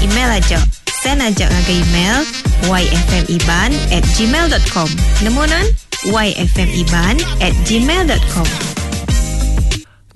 Email aja. Send aja ngagai email yfmiban at gmail dot com. Nemu nan? yfmiban at gmail dot com.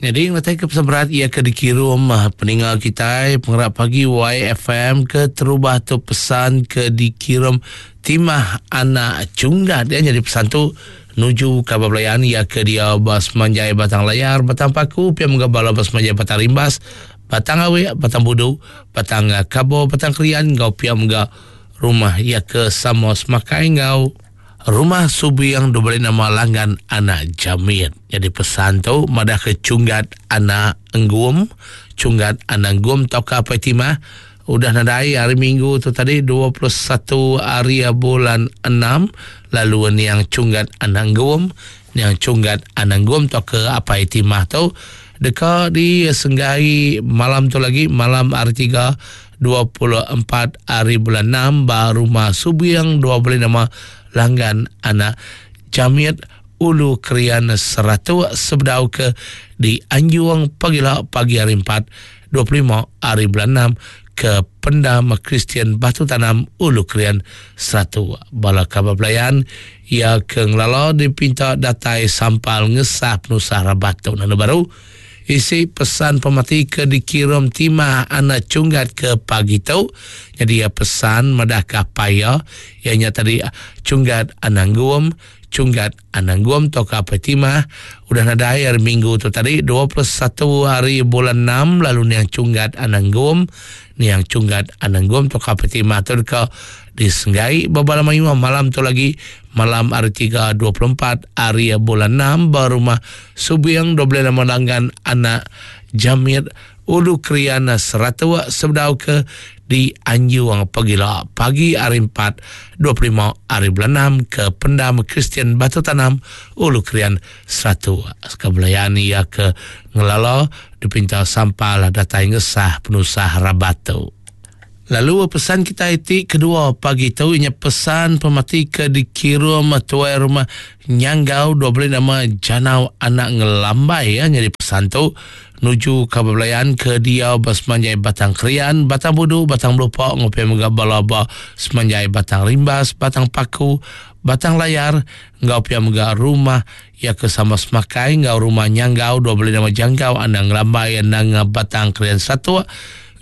Nyadi ngetai ke pesan berat iya ke dikirum ah, peninga kitai pengerak pagi YFM ke terubah tu pesan ke dikirum Timah anak Chunggat ya nyadi pesan tu nuju kaban belayan iya ke dia ba semanjai Batang Layar, Batang Paku, pia mega bala ba semanjai Batang Rimbas, Batang Awik, Batang Budu, Batang Kabo, Batang Krian enggau pia mega rumah iya ke sama semakai enggau Rumah Subiang diberi nama Langgan Anak Jamit. Nyadi pesan tu madahka Chunggat Anak Enggum, Chunggat Anak Enggum tauka Apai Timah udah nadai hari Minggu tu tadi 21 hari bulan 6 lalu niang Chunggat Anak Enggum, niang Chunggat Anak Enggum tauka Apai Timah tu deka disenggai malam tu lagi malam hari 3 24 ari bulan 6 ba Rumah Subiang 25 Langgan Anak Jamit Ulu Krian Seratuk sebedau ke dianjung pagila pagi hari 4 25 ari bulan 6 ke Pendam Kristian Batu Tanam Ulu Krian Seratuk. Bala kaban belayan iya ke ngelala dipinta datai sampal ngesah penusah rabat tu nanda baru. Isi pesan pemati ke dikirum Timah anak Chunggat ke pagi tu. Nyadi iya pesan madahka apai iya, iya nya tadi Chunggat anak Gum, Chunggat anak Gum tauka apai Timah udah nadai hari Minggu tu tadi 21 hari bulan 6 lalu niang Chunggat anak Gum, niang Chunggat anak Gum tauka apai Timah tu deka disenggai ba bala mayuh malam tu lagi malam hari 3 24 hari bulan 6 ba rumah Subing 25 Langgan anak Jamit Ulu Krian Seratuk sebedau ke di Anjung pagila pagi hari 4 25 hari bulan 6 ke Pendam Kristian Batu Tanam Ulu Krian Seratuk. Sekabelayan iya ke ngelala dipinta sampal datai ngesah penusah rabat tu. Lalu pesan kitai ti kedua pagi tu inya pesan pemati ke dikirum tuai rumah Nyanggau dua beli nama Janau anak Ngelambai ya nyadi pesan tu nuju ka bebelayan ke diau ba semanjai Batang Krian, Batang Budu, Batang Melupa enggau pia mega bala ba semanjai Batang Rimbas, Batang Paku, Batang Layar enggau pia mega rumah iya ke sama semakai enggau rumah Nyanggau dua beli nama Janggau anak Ngelambai nanga Batang Krian Satok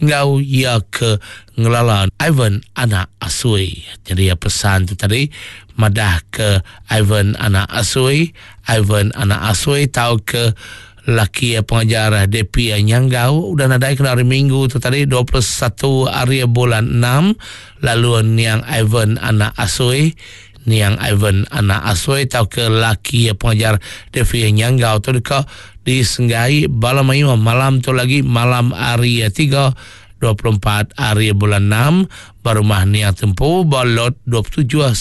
enggau iya ke ngelala Ivan anak Asui. Jadi iya pesan tu tadi madah ke Ivan anak Asui, Ivan anak Asui tau ke laki pengajar DP Nyanggau udah nadai kena hari Minggu tu tadi 21 hari bulan 6 lalu niang Ivan anak Asui niang Ivan anak Asui tau ke laki pengajar DP Nyanggau tu deka Disenggai bala mayuh malam tu lagi malam hari 3 24 hari bulan 6 ba rumah Niang Tempu ba lot 27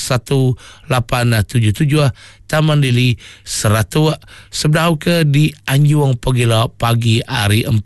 1877 Taman Lili Seratuk sebedau ke di Anjung pagila pagi hari 4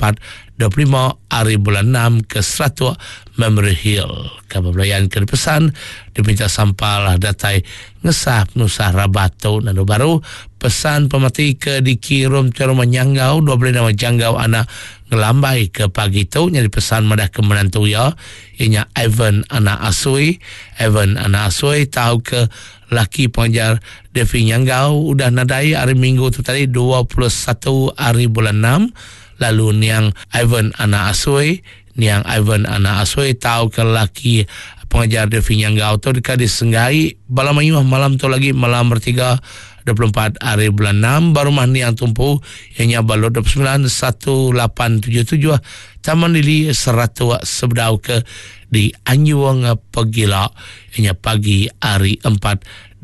25 hari bulan 6 ke Seratuk Memory Hill. Kaban belayan ke dipesan dipinta sampal datai Ngesah penusah rabat tu lalu baru pesan pemati ke dikirum ke rumah Nyanggau 26 Janggau anak Ngelambai ke pagi tu nyadi pesan madah ke menantu iya iya nya Ivan anak Asui Ivan anak Asui tau ke laki pengajar Devi Nyanggau udah nadai hari Minggu tu tadi 21 hari bulan 6 lalu niang Ivan anak Asui Niang Ivan anak Asui tau ke laki pengajar Devi Nyanggau tu deka disenggai bala mayuh malam tu lagi malam bertiga 24 hari bulan 6 ba rumah Niang Tumpu iya nya ba Lot 29 1877 Taman Lili Seratuk sebedau ke di Anjung Pegila iya nya pagi hari 4 25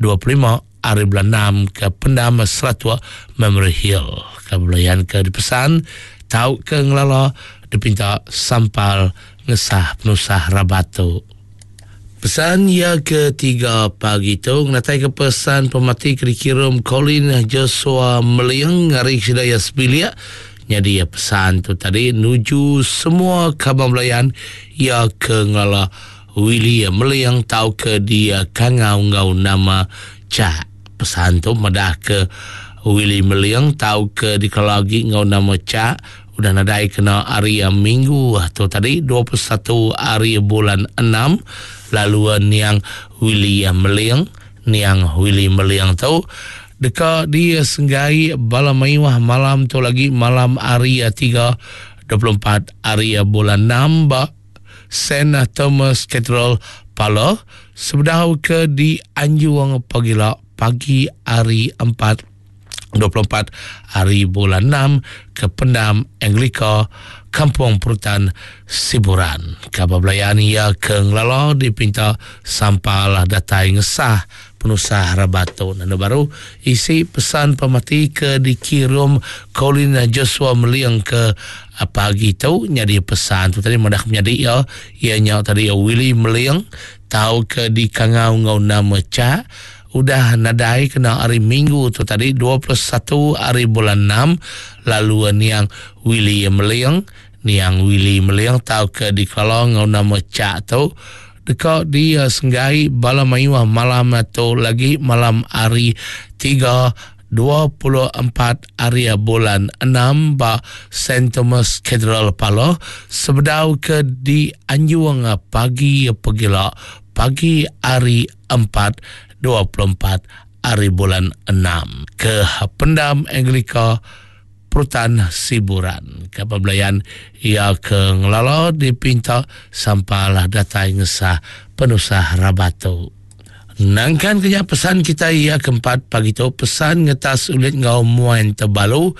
hari bulan 6 ke Pendam Seratuk Memory Hill. Ke belayan ke dipesan tau ke ngelala dipinta sampal ngesah penusah rabat tu. Pesan iya ke tiga pagi tu ngenatai ke pesan pemati ke dikirum Colin Joshua Meling ngari sida iya sebilik nyadi iya pesan tu tadi nuju semua kaban belayan iya ke ngelala Willie Meling tauka dikangau enggau nama Chak. Pesan tu madah ke Willie Meling tauka dikelala agi enggau nama Chak. udah nadai kena hari Minggu tu tadi 21 hari bulan 6 lalu niang Willie Meling niang Willie Meling tu deka disenggai bala mayuh malam tu lagi malam hari 3 24 hari bulan 6 ba Saint Thomas Cathedral Pala sebedau ke dianjung pagila pagi hari 4 24 hari bulan 6 ke Pendam Anglika Kampung Perutan Siburan. Kabar belayan ia ke ngelala dipinta sampal datai ngesah penusah rabat tu. Nanda baru isi pesan pemati ke dikirum Colin Joshua Meling ke pagi tu nyadi pesan tu tadi madah menyadi ia ia nya tadi Willie Meling tau ke dikangau ngau nama Cak udah nadai kena hari Minggu tu tadi 21 hari bulan 6 lalu niang Willie Meling niang Willie Meling tau ke dikelala ngau nama Cak tu deka disenggai bala mayuh malam tu lagi malam hari 3 24 hari bulan 6 ba Saint Thomas Cathedral Paloh sebedau ke dianjung pagi pegila pagi hari 4 24 hari bulan 6 ke Pendam Anglika Perutan Siburan. Kapal belayan ia ke ngelala dipinta sampalah datai ngesah penusah rabat tu. Nangkan kenya pesan kita ia keempat pagi tu pesan ngetas ulit ngau muan tebalu.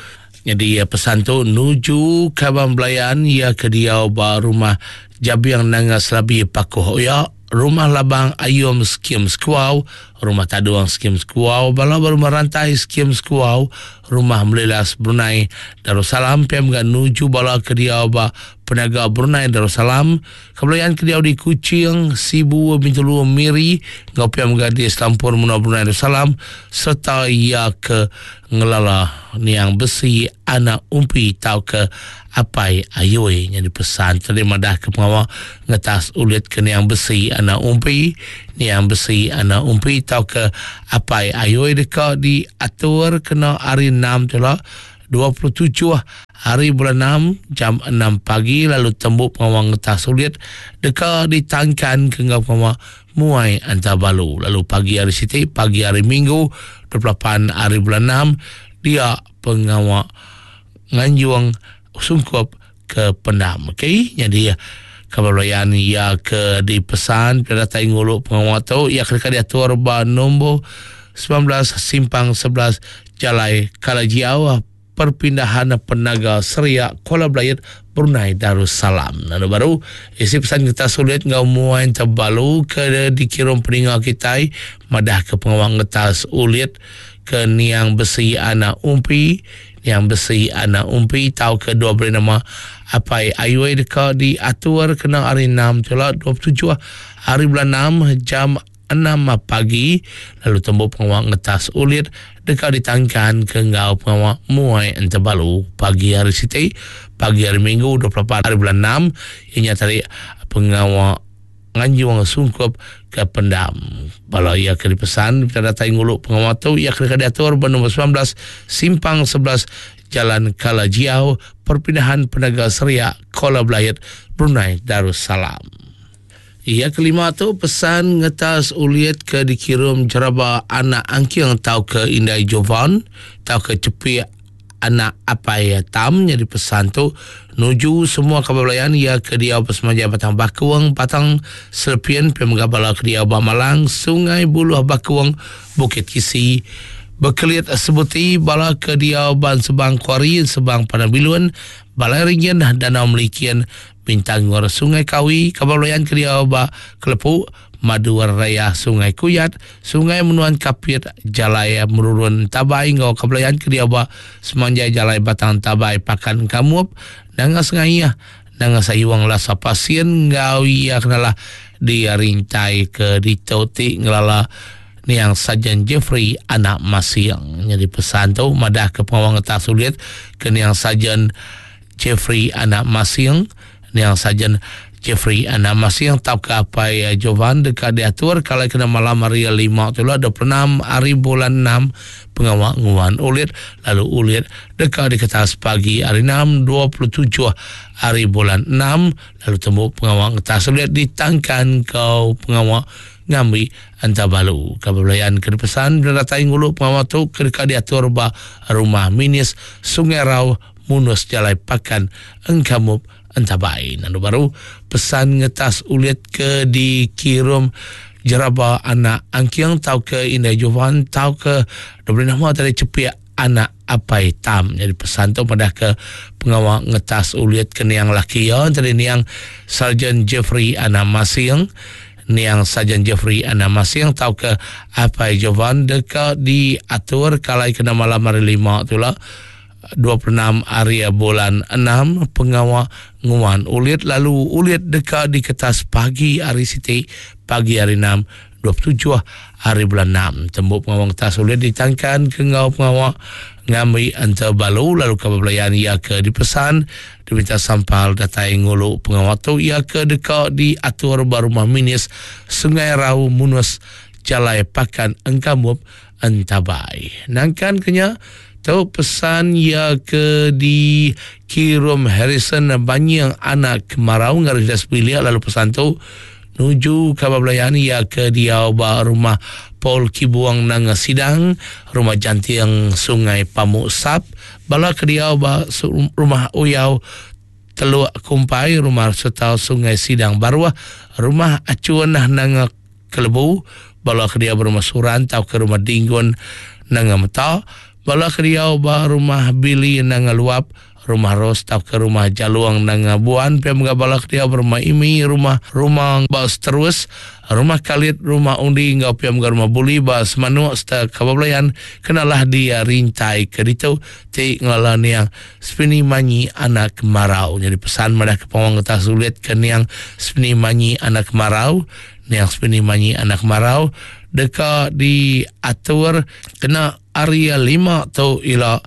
Jadi pesan tu nuju kaban belayan ia ke diau ba rumah Jabiang Nanga Selabi Pakuh Oya, Rumah Labang Ayum Skim Sekuau, Rumah Taduang Skim Sekuau, Bala ba Rumah Rantai Skim Sekuau, Rumah Melilas Brunei Darussalam, pia mega nuju bala ke diau ba Penaga Brunei Darussalam, Kebelayan ke diau di Kuching, Sibu, Bintulu, Miri enggau pia mega di Selampur menua Brunei Darussalam sereta iya ke ngelala niang besi anak umpi tauka Apai Ayui nyadi pesan tadi madah ke pengawa ngetas ulit ke niang besi anak umpi, niang besi anak umpi tauka Apai Ayui deka diatur kena hari 6 tu la 27 hari bulan 6 jam 6 pagi lalu tembu pengawa ngetas ulit deka ditangkan ke enggau pengawa muai antabalu lalu pagi hari siti pagi hari Minggu 28 hari bulan 6 dia pengawa nganjung sungkup ke pendam. Okey, jadi kabar belayan ia ke dipesan pada datai ngulu pengawa tu ia kena diatur ba nombor 19 simpang 11 Jalai Kalajiau Perpindahan Penaga Seriak Kuala Belayut Brunei Darussalam. Lalu baru isi pesan kita sulit ngau muai terbalu ke dikirum peninga kita madah ke pengawa ngetas ulit ke niang besi anak umpi niang besi anak umpi tau ke dua beri nama apai ayui deka diatur kena hari 6 tu lah 27 hari bulan 6 jam 6 pagi lalu tembu pengawa ngetas ulit deka ditangkan ke enggau pengawa muai entebalu pagi hari siti pagi hari Minggu 24 hari bulan 6 ianya tadi pengawa nganjung sungkup ke pendam. Bala ia ke dipesan kita datai ngulu pengawa tu ia kena diatur ba nombor 19 simpang 11 Jalan Kalajiau Perpindahan Penaga Seriak Kuala Belayat Brunei Darussalam. Ia kelima tu pesan ngetas ulit ke dikirum jeraba anak angking tau ke Indai Jovan tau ke cepik anak apai Tam nyadi pesan tu nuju semua kaban belayan ia ke diau besemajai Batang Bakung, Batang Serpin, pia mega bala ke diau ba Malang, Sungai Buluh Bakung, Bukit Kisi, Bekelit Sebuti, bala ke diau ba Ensebang Kuari, Ensebang Padang Bilun, Balai Ringin, Danau Melikin, Bintangor, Sungai Kawi, kaban belayan ke diau ba Kelepu, Madu Raya Sungai Kuyat, Sungai Menuan Kapit, Jalai Merurun Tabai enggau Kebelayan ke diau ba semanjai Jalai Batang Tabai Pakan Kamup, Nanga Sengayah, Nanga Sayuang Lasa Pasin enggau iya kenalah dirintai ke ditu ti ngelala niang Sajan Jeffrey anak Masing. Nyadi pesan tu madah ke pengawa ngetas ulit ke niang Sajan Jeffrey anak Masing, niang Sajan Jeffrey Anak Masing tauka Apai Jovan deka diatur kalai kena malam hari lima tu ila 26 hari bulan enam pengawa nguan ulit lalu ulit deka diketas pagi hari enam 27 hari bulan enam lalu tembu pengawa ngetas ulit ditangkan enggau pengawa ngambi enta balu. Kaban belayan ke dipesan bela datai ngulu pengawa tu ke deka diatur ba Rumah Minis Sungai Rau Munus Jalai Pakan Engkamup Entabai. Nandu baru pesan ngetas ulit ke dikirum jeraba anak Angking tauka Indai Jovan tauka diberi nama tadi Chepik anak Apai Tam. Jadi pesan tu madah ke pengawa ngetas ulit ke niang laki iya tadi niang Sarjan Jeffrey anak Masing. Niang Sarjan Jeffrey anak Masing tauka Apai Jovan deka diatur kalai kena malam hari lima tu lah. 26 ari bulan enam pengawa nguan ulit lalu ulit deka diketas pagi hari siti pagi hari enam 27 hari bulan enam. Tembu pengawa ngetas ulit ditangkan ke enggau pengawa ngambi enta balu lalu ke bebelayan iya ke dipesan diminta sampal datai ngulu pengawa tu iya ke deka diatur ba rumah minis Sungai Rau Munus Jalai Pakan Engkamup Entabai. Nangkan ke nya, tu pesan iya ke dikirum Harrison Banying anak Kemarau ngagai sida sebilik lalu pesan tu nuju kaban belayan iya ke diau ba rumah Paul Kibuang Nanga Sidang, Rumah Janting Sungai Pamuk Sap, bala ke diau ba Rumah Uyau Teluk Kumpai, Rumah Setau Sungai Sidang Baruh, Rumah Achun Nanga Kelebu, bala ke diau ba Rumah Suran tauka Rumah Dinggun Nanga Meta, bala ke diau ba Rumah Billy Nanga Luap, Rumah Ros tauka Rumah Jalung Nanga Buan, pia mega bala ke diau ba Rumah Imi, Rumah Rumang ba Seterus, Rumah Kalit, Rumah Undi enggau pia mega Rumah Buli ba Semanuk sereta Kaban Belayan kenalah di rintai ke ditu ti ngelala niang Sepini Manyi Anak Kemarau. Nyadi pesan madah ke pengawa ngetas ulit ke niang Sepini Manyi Anak Kemarau Niang Sepini Manyi Anak Marau deka diatur kena hari lima tu ila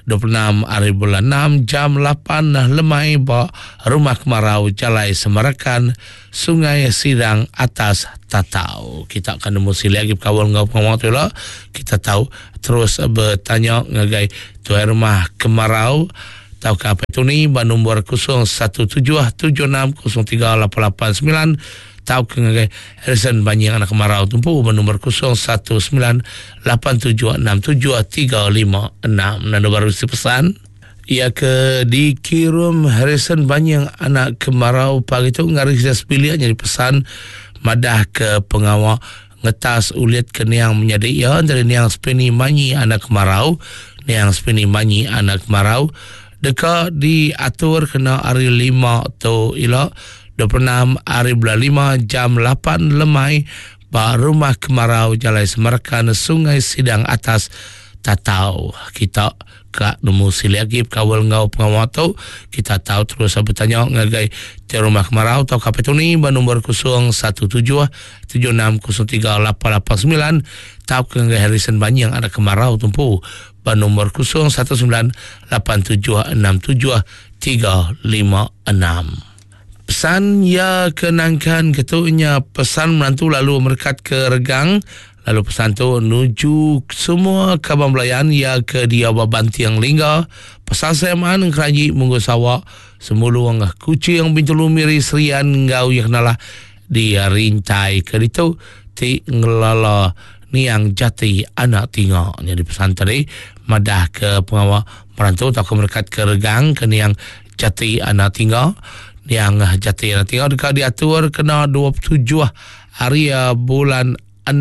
26 hari bulan 6 jam 8 lemai ba Rumah Kemarau Jalai Semarakan Sungai Sidang Atas Tatau. Kita akan nemu silik agi bekaul enggau pengawa tu ila. Kita tau terus betanya ngagai tuai rumah Kemarau tauka Apai Tuni ba nombor 0177603889 tauka ngagai Harrison Banying anak Kemarau tumpu ba nombor 0198767356. Nanda baru si pesan. Ia ke dikirum Harrison Banying anak Kemarau pagi tu ngari sida sebilik nyadi pesan madah ke pengawa ngetas ulit ke niang menyadi iya entara niang Speni Manyi anak Kemarau niang Speni Manyi anak Kemarau deka diatur kena hari lima tu ila 26 hari bulan lima jam 8 lemai ba Rumah Kemarau Jalai Semarakan Sungai Sidang Atas Tatau. Kita ka nemu silik agi bekaul enggau pengawa tu, kita tau terus betanya ngagai Tuai Rumah Kemarau tauka Apai Tony ba nombor 017 7603 889 tauka ngagai Harrison Banying anak Kemarau tu empu ba nombor 019 8767 356. Pesan iya ke nangkan ke tu nya pesan menantu lalu merekat ke regang lalu pesan tu nuju semua kaban belayan iya ke diau ba Banting Lingga, Pasar Seman, Engkeranji, Munggu Sawa, Semulung, Kuching, Bintulu, Miri, Serian enggau iya kenalah di rintai ke ditu ti ngelala niang jati anak tinga. Nyadi pesan tadi madah ke pengawa merantu tauka merekat ke regang ke niang Jati Anak Tingga. Niang Jati Anak Tingga deka diatur kena 27 hari bulan 6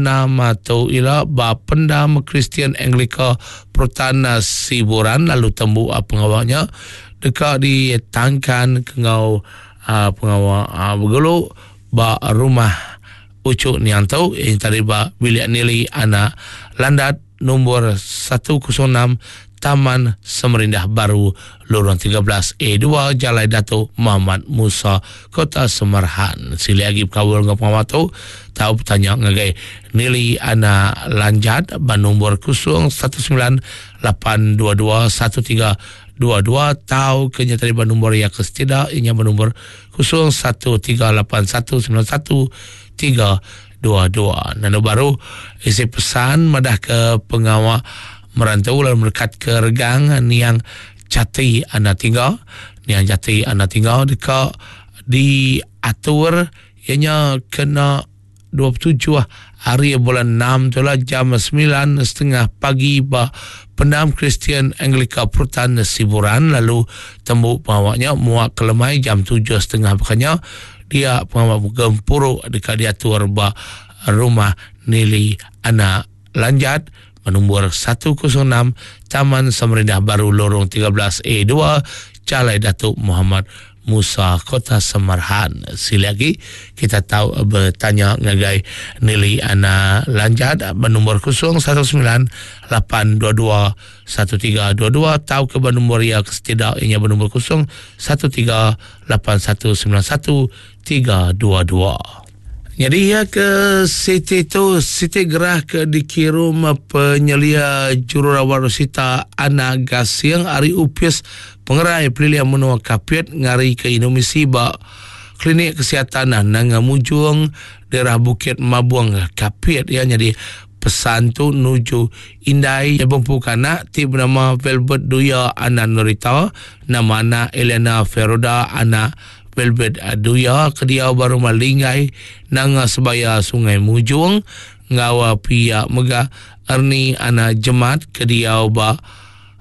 tu ila ba Pendam Kristian Anglika Perutan Siburan lalu tembu pengawa nya deka ditangkan ke enggau pengawa begulu ba rumah uchu niang tu iya tadi ba Bilik Nili Anak Landat Nombor 106 Taman Semerindah Baru, Lorong 13 A2, Jalai Datuk Muhammad Musa, Kota Semerhan. Silik agi bekaul enggau pengawa tu, tau betanya ngagai Nili Anak Lanjat ba nombor 019 822 13 dua dua tau ke nya tadi ba nombor iya ke setida iya nya ba nombor 0138191322. Nanu baru isi pesan madah ke pengawa merantu lalu merekat ke regang niang Jati Anak Tingga. Niang Jati Anak Tingga deka diatur iya nya kena 27 hari bulan 6 tu lah jam 9.30 pagi ba Pendam Kristian Anglika Perutan Siburan lalu tembu pengawa nya muak ke lemai jam 7.30 bakanya dia pengawa gempuru deka diatur ba Rumah Nili Anak Lanjat ba nombor 106 Taman Samarindah Baru Lorong 13 A2 Jalai Datuk Muhammad Musa Kota Samarahan. Sili agi kita tau betanya ngagai Nili Ana Lanjat ba nombor 019 822 1322 tau ke ba nombor iya ke setida iya nya ba nombor 013 8191 322. Nyadi iya ke siti tu siti gerah ke dikirum penyelia jururawat Rosita Ana Gasing ari Opis Pengerai Pelilih Menua Kapit ngarika indu misi ba Klinik Kesihatan Nanga Mujong daerah Bukit Mabong Kapit. Iya nyadi pesan tu nuju indai bempu kanak ti benama Velvet Duya Ana Norita, nama anak Eliana Feroda anak Velvet Duya ke diau ba Rumah Linggai, Nanga Sebaya Sungai Mujong enggau pia mega Ernie Anak Jemat ke diau ba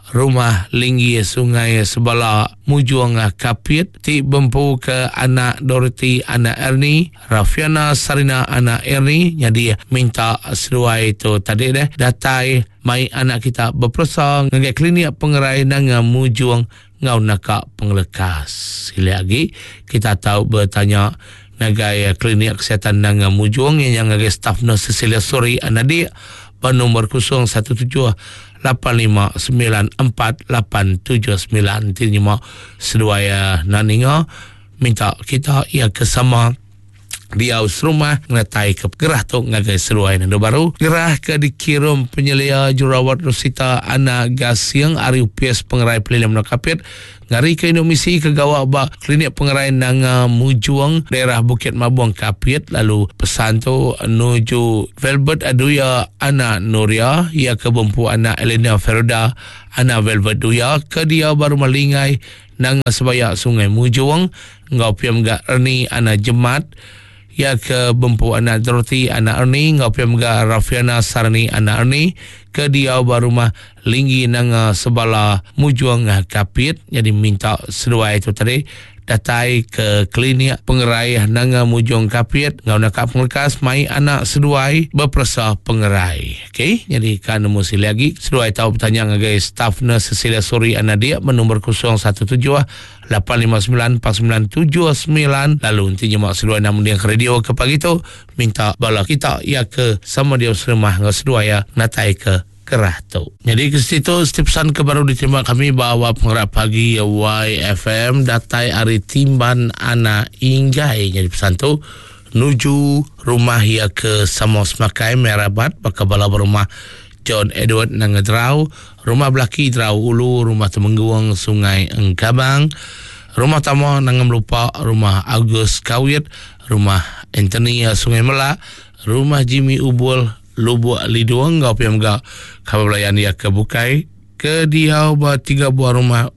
Rumah Linggi Sungai Sebala Mujong Kapit ti bempu ke anak Dorothy anak Ernie, Rafiana Sarina anak Ernie nyadi minta seduai tu tadi deh datai mai anak kita beperesa ngagai klinik pengerai Nanga Mujong enggau naka pengelekas. Silik agi, kita tau betanya ngagai Klinik Kesihatan Nanga Mujong iya nya ngagai staf nurse Cecilia Suri Anadik ba nombor 017 8594879 ti nyema seduai enda ninga minta kita iya ke sama diau serumah ngenatai ke gerah tu ngagai seduai nendu baru. Gerah ke dikirum penyelia jururawat Rosita Ana Gasing ari Opis Pengerai Pelilih Menua Kapit ngarika indu misi ke gawa ba Klinik Pengerai Nanga Mujong daerah Bukit Mabong Kapit lalu pesan tu nuju Velvet Aduya Ana Nuria iya ke bempu anak Elena Feroda Ana Velvet Duya ke diau ba Rumah Lingai Nanga Sebaya Sungai Mujong enggau pia mega Ernie Ana Jemat iya ke bempu anak Dorothy anak Ernie enggau pia mega Rafiana Sarni anak Ernie ke diau ba Rumah Linggi Nanga Sebala Mujong Kapit nyadi minta seduai tu tadi datai ke klinik pengerai Nanga Mujong Kapit enggau naka pengelekas mai anak seduai beperesa pengerai. Okey, nyadi ka nemu silik agi seduai tau betanya ngagai staf nurse Cecilia Suri Anadik ba nombor 017 859 4979 lalu enti nyema seduai enda mending ke radio ke pagi tu minta bala kita iya ke sama diau serumah enggau seduai iya natai ke kerah tu. Nyadi ke siti tu siti pesan ke baru diterima kami ba awal pengerak pagi YFM datai ari Timban Anak Inggai. Nyadi pesan tu nuju rumah iya ke sama semakai meh rabat baka bala ba rumah John Edward Nanga Drau, Rumah Belaki Drau Ulu, Rumah Temenggung Sungai Engkabang, Rumah Tama Nanga Melupa, Rumah August Kawit, Rumah Anthony Sungai Melak, Rumah Jimmy Ubul, Lubuk Lidung enggau pia mega kaban belayan iya ke bukai ke diau ba tiga buah rumah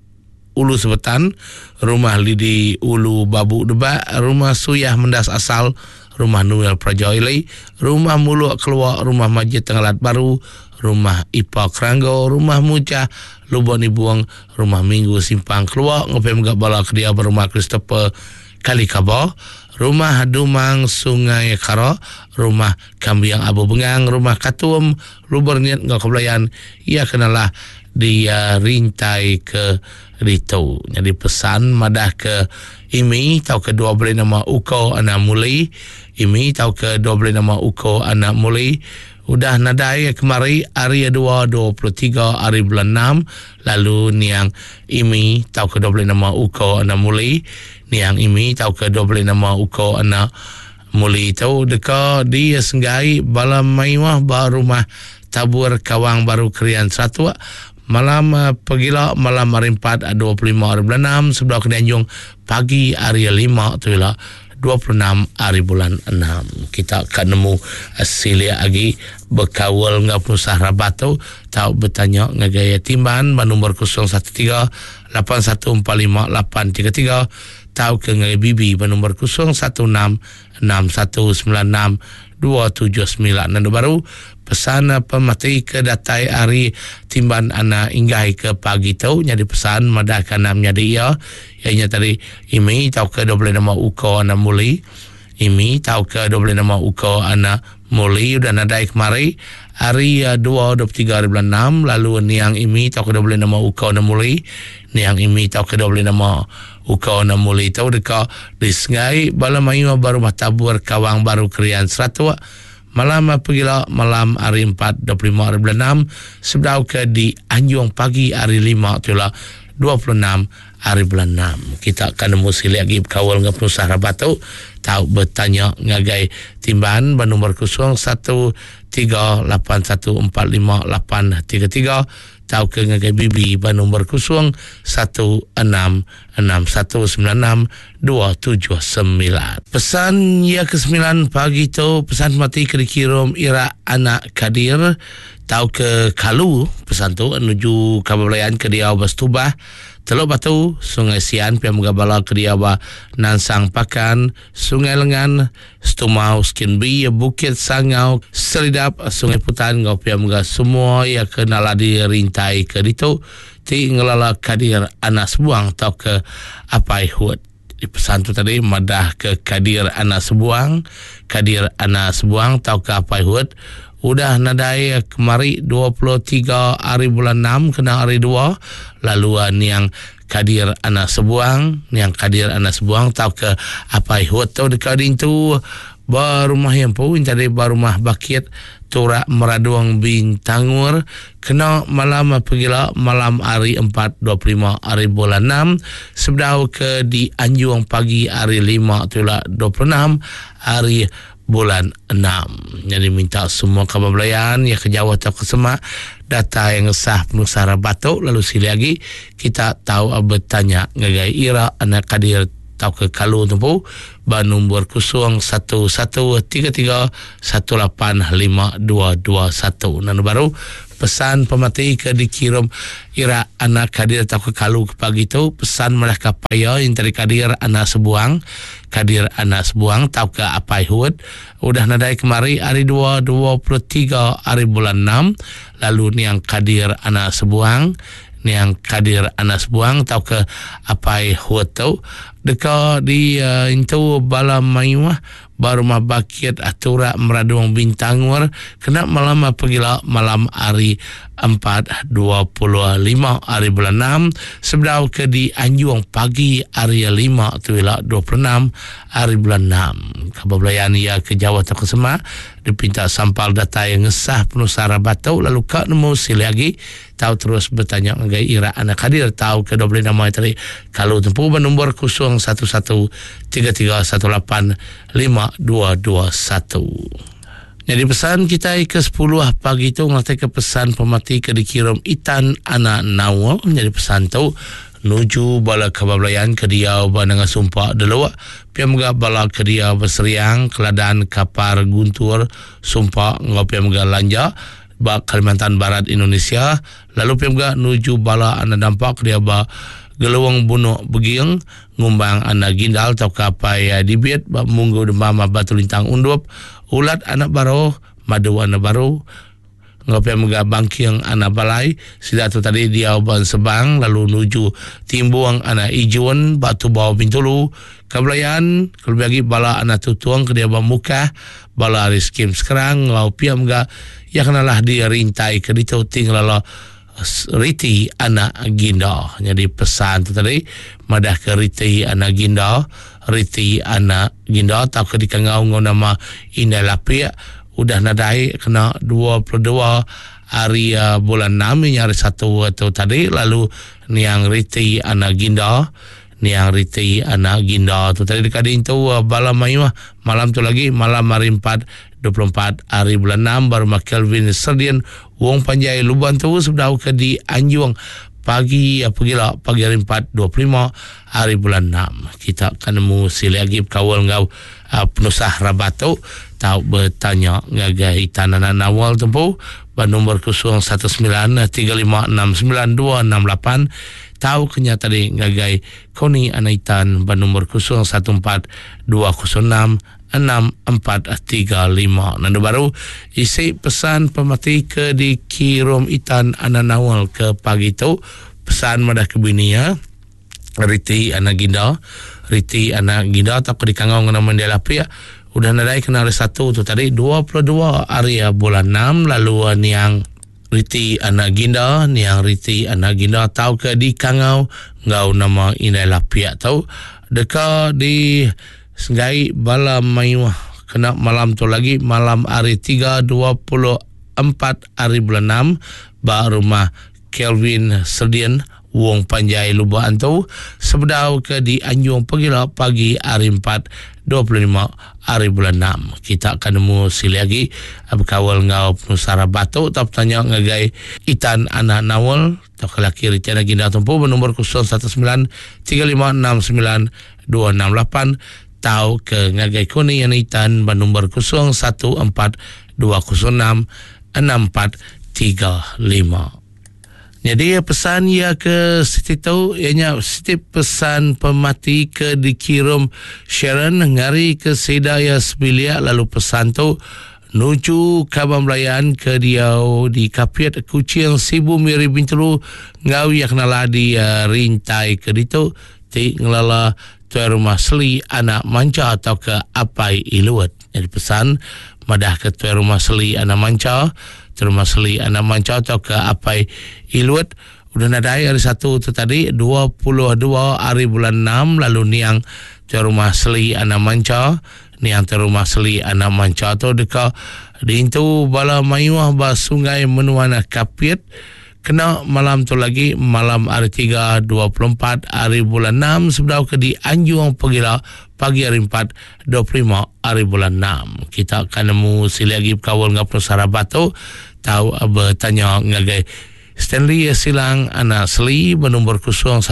Ulu Sebetan, Rumah Lidi Ulu Babu Debak, Rumah Suyah Mendas Asal, Rumah Noel Praja Ili, Rumah Muluk Kelua, Rumah Majid Tengalat Baru, Rumah Ipa Keranggo, Rumah Mujah, Lubuk Nibung, Rumah Minggu Simpang Kelua enggau pia mega bala ke diau ba Rumah Christopher Kalikaba, Rumah Dumang Sungai Kara, Rumah Kambing Abu Bengang, Rumah Katum, Lubur Nit enggau Kebelayan iya ke nelah dirintai ke ditu. Nyadi pesan madah ke Imi tauka dua beli nama Uko anak Muli, Imi tauka dua beli nama Uko anak Muli udah nadai kemari hari dua 23 hari bulan enam lalu niang Imi tauka dua beli nama Uko anak Muli, niang Imi tauka dua beli nama Uko anak Muli tu deka disenggai bala mayuh ba Rumah Tabur Kawang Baru Krian Seratuk. Malam pegila malam hari 4 25 hari bulan 6 sebedau ke dianjung pagi hari 5 tu ila 26 hari bulan 6. Kita ka nemu silik agi bekaul enggau penusah rabat tu tau betanya ngagai Timban ba nombor 013 8145 833 tauka ngagai Bibi ba nombor 016 6196 279. Nandu baru pesan pemati ke datai ari Timban Anak Inggai ke pagi tu nyadi pesan madahka anak menyadi iya iya nya tadi Imi tauka dau bulih nama Uko anak Muli. Imi tauka dau bulih nama Uko anak Muli udah nadai kemari hari dua 23 hari bulan enam lalu niang Imi tauka dau bulih nama Uko anak Muli niang Imi tauka dau bulih nama Uko anak Muli tu deka disengai bala mayuh ba Rumah Tabur Kawang Baru Krian Seratok malam pegila malam hari empat 25 hari bulan enam sebedau ke di Anjung pagi hari lima tu ila 26 hari bulan enam. Kita akan nemu silik agi bekaul enggau penusah rabat tu tau betanya ngagai Timban ba nombor 0 1 3 8 1 4 5 8 3 3 tauka ngagai Bibi ba nombor 0 1 6 6 1 9 6 2 7 9. Pesan iya ke sembilan pagi tu pesan mati ke dikirum Ira anak Kadir tauka Kalu pesan tu nuju kaban belayan ke diau ba Setubah Teluk Batu Sungai Sian pia mega bala ke diau ba Nansang Pakan Sungai Lengan Setumau Skin B Bukit Sangau Selidap Sungai Putan enggau pia mega semua iya ke nala dirintai ke ditu ti ngelala Kadir anak Sebuang tauka Apai Hut. Pesan tu tadi madah ke Kadir anak Sebuang, Kadir anak Sebuang tauka Apai Hut udah nadai kemari 23 hari bulan 6 kena hari 2 lalu niang Kadir anak Sebuang, niang Kadir anak Sebuang tauka Apai Hut tu deka dintu ba rumah iya empu tadi ba rumah Bakit Turak Meradong Bintangur kena malam pegila malam hari 4 25 hari bulan 6 sebedau ke dianjung pagi hari 5 tu ila 26 hari bulan 6. Jadi minta semua kaban belayan yang ke jauh atau ke semak datai ngesah penusah rabat tu lalu sili agi kita tau bertanya ngagai Ira anak Kadir tauka Kalu tempu ba nombor 0113318521. Nanu baru pesan pemati ke dikirim Ira anak Kadir tauka Kalu ke pagi tu pesan malah ka paya yang tadi Kadir anak Sebuang Kadir anak Sebuang tauka Apai Hud udah nadai kemari hari 2 23 hari bulan 6 lalu niang Kadir anak Sebuang niang Kadir anak Sebuang tauka Apai Hud tu deka di uh, intu bala mayuh ba rumah Bakit Turak Meradung Bintangur kena malam pegila malam hari 4.25 hari bulan 6 sebedau ke di Anjung pagi hari 5 tu ila 26 hari bulan 6. Kabar belayan ia ke jauh atau ke semak dipinta sampal datai ngesah penusah rabat tu lalu ka nemu silih agi Tau terus betanya ngagai Ira anak Kadir tau ke 25 nama tadi kalau tempu ba nombor 0113318521. Jadi pesan kita ke 10 pagi tu ngerti ke pesan pemati ke dikirim Itan anak Nawa. Jadi pesan tu nuju bala kaban belayan ke diau ba Nanga Sumpa Deluk, pia mega bala ke diau ba Seriang, Keladan, Kapar, Guntur, Sumpa enggau pia mega Lanja ba Kalimantan Barat Indonesia lalu pia mega nuju bala anak dampa ke dia ba Geluong Bunuk Beging ngumbang anak Gindal tauka apai Dibit ba Munggu Demam Batu Lintang Undup Ulat anak Baroh Madu anak Baru enggau pia mega Bangking anak Balai sida tu tadi diau ba Ensebang lalu nuju Timbung anak Ijun ba Tubau Bintulu Kabelayan kelebih agi bala anak Tutung ke diau ba Mukah Bala ari skim sekerang enggau pia mega iya ke nalah dirintai ke ditu ti ngelala riti anak ginda. Nyadi pesan tu tadi madah ke riti anak ginda, riti anak ginda tauka dikangau enggau nama Indai Lapik udah nadai kena 22 hari bulan 6 inya hari satu tu tadi lalu niang riti anak ginda. Niang Riti anak Ginda tu tadi deka diintu bala mayuh malam tu lagi malam hari empat 24 hari bulan 6 ba rumah Kelvin Serdin Wong Panjai Luban tu sebedau ke dianjung pagi pegila pagi hari 4 25 hari bulan 6. Kita akan nemu silik agi bekaul enggau penusah rabat tu tau betanya ngagai Itan anak Nawal tempu ba nombor 019 35 69 268 tau ke nya tadi ngagai Koni anak Itan ba nombor 014 206 6435. Nandu baru isi pesan pemati ke dikirum Itan anak Nawal ke pagi tu pesan madah ke bini iya Riti anak Ginda Riti anak Ginda tauka dikangau ngena nama Indai Lapik udah nadai kena hari Satu tu tadi 22 hari bulan 6 lalu niang Riti anak Ginda niang Riti anak Ginda tauka dikangau enggau nama Indai Lapik tu deka di senggai bala mayuh kena malam tu lagi malam hari 3 24 hari bulan 6 ba rumah Kelvin Serdin Wong Panjai Lubok Antu sebedau ke dianjung pegila pagi hari 4 25 hari bulan 6. Kita akan nemu silik agi bekaul enggau penusah rabat tu tau betanya ngagai Itan Anak Naul tauka laki Riti Anak Ginda Tumpu benombor 019 3569 268 tau ke ngagai Koni Anak Itan benombor 014 206 6435. Nyadi pesan iya ke siti tu iya nya siti pesan pemati ke dikirum Sharon ngari ke sida iya sebilik lalu pesan tu nuju kaban belayan ke diau di Kapit, Kuching, Sibu, Miri, Bintulu enggau iya kenala di rintai ke ditu ti ngelala Tuai Rumah Seli Anak Mancha tauka Apai Ilut. Nyadi pesan madah ke Tuai Rumah Seli Anak Mancha, Tuai Rumah Seli Anak Mancha tauka Apai Ilut udah nadai hari Satu tu tadi 22 hari bulan 6 lalu niang Tuai Rumah Seli Anak Mancha, niang Tuai Rumah Seli Anak Mancha tu deka diintu bala mayuh ba Sungai Menuan Kapit Kena malam tu lagi, malam hari Tiga 24 hari bulan 6 sebedau ke dianjung pegila pagi hari Empat 25 hari bulan 6. Kita akan nemu silik agi bekaul enggau penusah rabat tu tau betanya ngagai Stanley Silang anak Seli benombor 013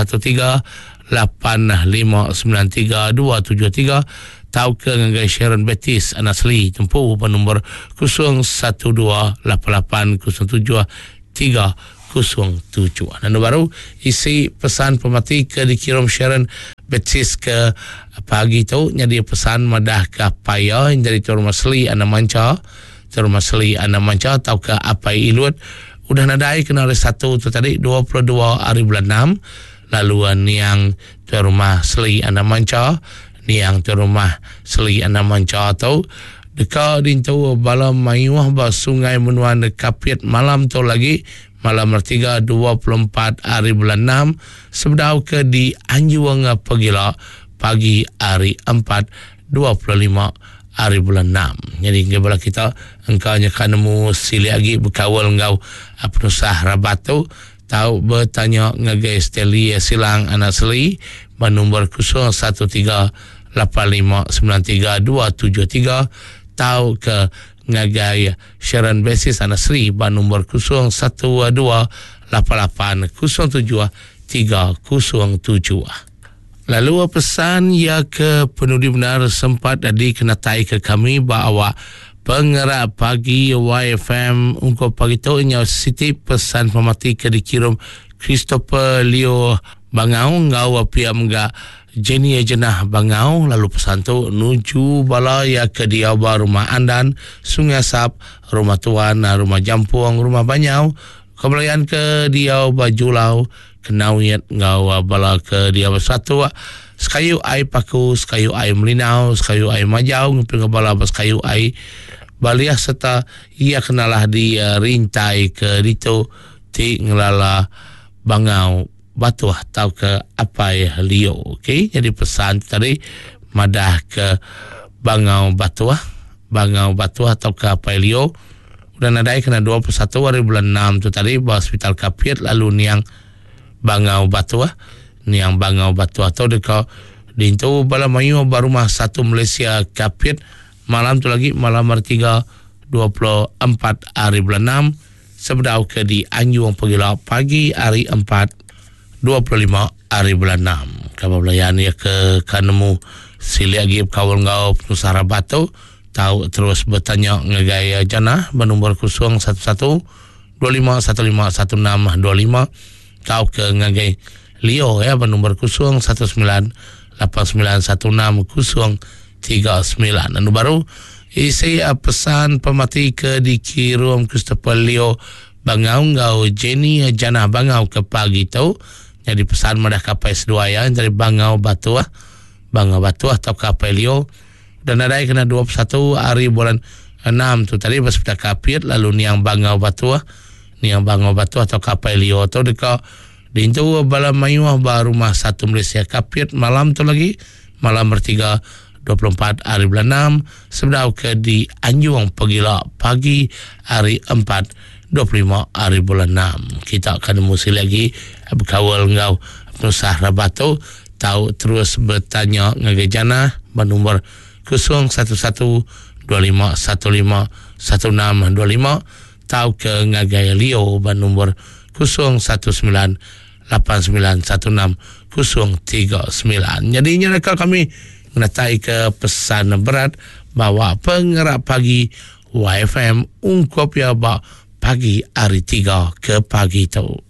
8593 273 tauka ngagai Sharon Baptist anak Seli tempu benombor 012 88 07 307. Anu baru isi pesan pemati ke dikirum Sharon Baptist ke pagi tu nyadi pesan madah ke apai iya yang jadi Tuan Rumah Seli Anak Mancha. Tuan Rumah Seli Anak Mancha tauka Apai Ilut udah nadai kena hari Satu tu tadi 22 hari bulan 6 lalu niang Tuan Rumah Seli Anak Mancha niang Tuan Rumah Seli Anak Mancha tu Deka dintu bala mayuh ba Sungai Menuan Kapit malam tu lagi, malam Hari Tiga 24 hari bulan enam sebedau ke dianjung pegila pagi hari Empat 25 hari bulan enam. Nyadi enggai bala kita engka nyeka nemu silik agi bekaul enggau penusah rabat tu tau betanya ngagai Stanley Silang anak Seli ba nombor 013 8593273 tauka ngagai Sharon Basis anak Sri ba nombor 0128807307. Lalu pesan iya ke penudi bendar sempat dikenatai ke kami ba awak Pengerak Pagi YFM ungkup pagi tu nyau siti pesan pemati ke dikirum Christopher Leo Bangau enggau pia mega Jenny Jenah Bangau lalu pesan tu nuju bala iya ke diau ba Rumah Andan, Sungai Asap, Rumah Tuan, Rumah Jampong, Rumah Banyau, Kebelayan ke diau ba Julau, Kenawit enggau bala ke diau ba Satok, Sekayu Ai Paku, Sekayu Ai Melinau, Sekayu Ai Majau ngeping bala ba Sekayu Ai Baliah sereta iya ke nalah di rintai ke ditu ti ngelala Bangau Batuh tauka Apai Lio. Okey, jadi pesan tu tadi madah ke Bangau Batuh, Bangau Batuh tauka Apai Lio udah nadai kena 21 hari bulan 6 tu tadi ba Hospital Kapit lalu niang Bangau Batuh. Niang Bangau Batuah tu deka diintu bala mayuh ba Rumah Satu Malaysia Kapit malam tu lagi malam hari Tiga 24 hari bulan enam sebedau ke dianjung pegila pagi hari Empat 25 hari bulan enam. Kaban belayan iya ke ka nemu silik agi bekaul enggau penusah rabat tu tau terus betanya ngagai Jana ba nombor 011 2515 1625 tauka ngagai Leo ya ba nombor 019 8916 039. Anu baru isi pesan pemati ke dikirum Christopher Leo Bangau enggau Jenny Janah Bangau ke pagi tu nyadi pesan madah kapai seduai iya entara Bangau Batuh Bangau Batuh tauka Apai Leo udah nadai kena 21 hari bulan 6 tu tadi ba sepital Kapit lalu niang Bangau Batuh niang Bangau Batuh tauka Apai Leo tu deka diintu bala mayuh ba Rumah Satu Malaysia Kapit malam tu lagi malam bertiga 24 hari bulan 6 sebedau ke dianjung pegila pagi hari 4 25 hari bulan 6. Kita akan nemu sekali lagi bekaul enggau penusah rabat tu tau terus betanya ngagai Jana ba nombor 011 25 15 1625 tauka ngagai Leo ba nombor 019 8916039. Nyadi nya reka kami ngenataika pesan berat bawa pengerak pagi YFM ungkup iya ba pagi hari tiga ke pagi tu.